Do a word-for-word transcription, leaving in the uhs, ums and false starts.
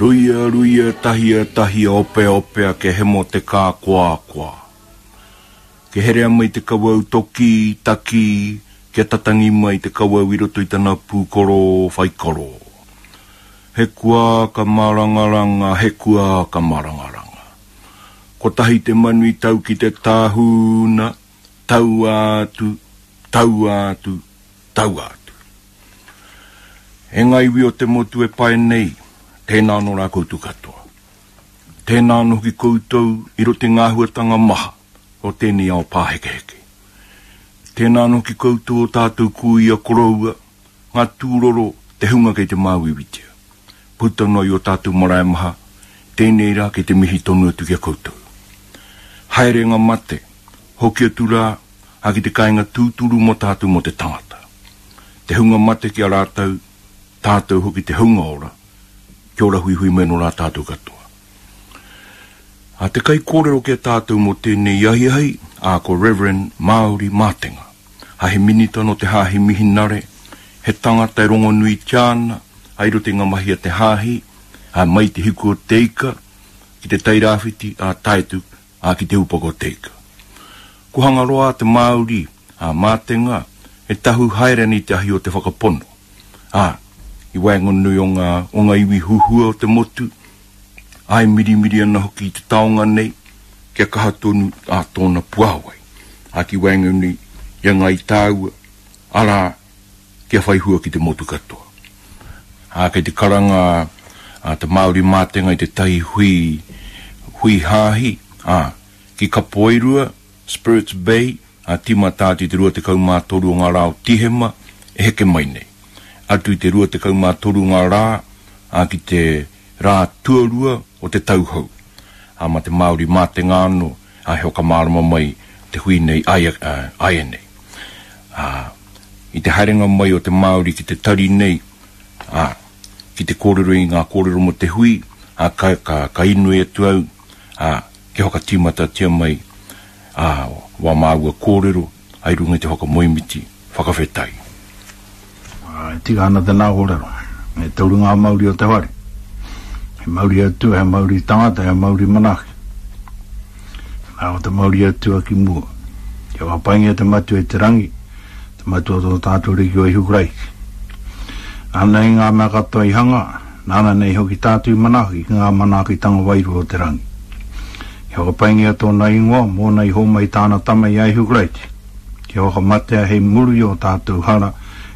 Ruia, ruia, tahia, tahia, opea, opea, ke hemo te kākoakoa. Ke herea mai te kawau toki, taki, kia tatangi mai te kawau i roto i tana pūkoro whaikoro. He kua ka marangaranga, he kua ka marangaranga. Kotahi te manu i tau ki te tāhuna, tau atu, tau atu, tau atu. E ngā iwi o te motu e pae nei, tēnā anō rā koutou katoa. Tēnā anō hoki koutou i roto i ngā āhuatanga maha o tēnei ao pāhekeheke. Tēnā anō hoki koutou o tātou kuia koroua, ngā tūroro, te hunga kei te māuiuitia. Puta noa i o tātou marae maha, tēnei rā kei te mihi tonu atu ki a koutou. Haerenga mate, hoki atu rā, ā ki te kāinga tūturu mō tātou mō te tangata. Te hunga mate ki a rātou, tātou hoki te hunga ora, kia ora huihui mai nō rā tātou katoa. A te kaikōrero ki a tātou mō tēnei ahiahi, a ko Reverend Māori Mātenga. A he minita no te hāhi mihinare, he tangata e rongonuitia ana, a i roto i ngā mahi a te hāhi, a mai te hiku o te ika, ki te Tairāwhiti, a tae atu, a ki te upoko o te ika. Ko Hangaroa te Māori, a Mātenga, e tahu haere ana i te ahi o te whakapono. A, i waenganui o ngā, o ngā iwi huhua o te motu, ai mirimiri ana hoki i te taonga nei, kia kaha tonu a tōna puāwai. A ki waenganui i a Ngāi Tāua, arā, kia whai hua ki te motu katoa. A kei te karanga a te Māori Mātenga i te tahi hui, hui hāhi, a, ki Kapoairua, Spirits Bay, a tīmata atu i te rua tekau mā toru o ngā rā o Tihema, e heke mai nei. Atu i te rua tekau mā toru ngā rā, a ki te rā tuarua o te tau hou. A ma te Māori Mātenga anō, a he whakamārama mai te hui nei ai, ai nei. A, i te haerenga mai o te Māori ki te tari nei, a, ki te kōrero i ngā kōrero mō te hui, a, ka, ka, ka inoi atu au, a, kia whakatīmatatia mai, a, wā māua kōrero, ai runga i te whakamoemiti, whakawhetai. E tika ana tēnā kōrero, e toru ngā mauri o te whare. He mauri atua, he mauri tangata, he mauri manaaki. Nā o te mauri atua ki mua. Kia whakapaingia te matua i te rangi, te matua o tō tātou Ariki o Ihu Karaiti. Nāna nei ngā mea katoa i hanga, nāna nei hoki tātou i manaaki ki ngā manaakitanga wairua o te rangi. Kia whakapaingia tōna ingoa, mōna i homai tāna tama i a Ihu Karaiti. Kia whakamatea hei muru i o tātou hara,